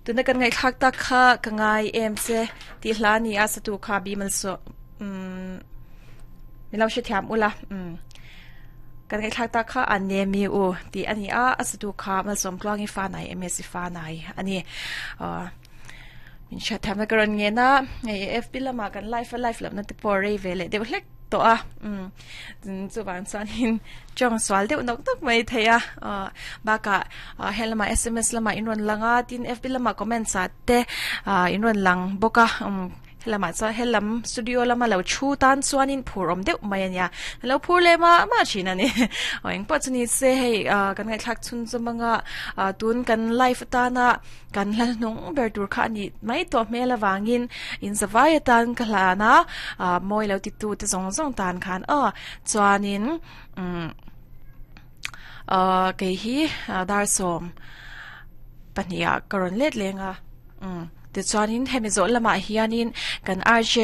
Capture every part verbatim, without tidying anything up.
Tuna kan ngai thak tak kha ka ngai em che ti hla ni a satu kha bimal so um milo she thiam ula um kan ngai thak tak kha an ne mi u ti ani a asatu kha mal som tluangi fa nai ms fa nai ani min sha tham na karon nge na ngai F B lama kan live live lam na te por re vele de hlek to a um chu wan chuan hin chong swal deuh nok nok mai theia ba ka helama S M S lama in ron langa tin F B lama comment sa te in ron lang boka um helama cha helam studio lama lo chu tan chuan in phurom deuh mai ania lo phur le ma ma china ni eng pa chuni se hei kan ngai thlak chun chumanga tun kan live ta na kan la nung ber tur kha ni mai to mela wangin in zawai tan ka hla na moi lo ti tu te zong zong tan khan a chuanin um ke hi dar som pania karon let lenga um ti chuanin hemi zo lama hianin kan R J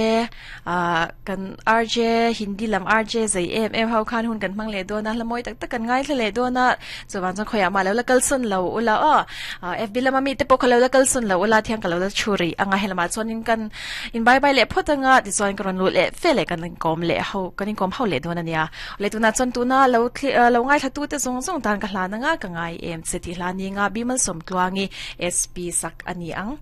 kan R J Hindi lam R J zai em em ho khan hun kan mang le do na lamoi tak tak kan ngai thle do na chuwan chang khoya ma lo la kalsun lo ula a F B lama mi te pok lo la kalsun lo ula thiang ka lo la churi anga helama chuanin kan in bye bye le photanga ti chuan karon lu le fele kan kom le ho kan in kom ho le do na nia le tu na chon tu na lo lo ngai thla tu te zong zong tan ka hla na nga ka ngai em che ti hla ni nga bimal som tluangi S P sak ani ang.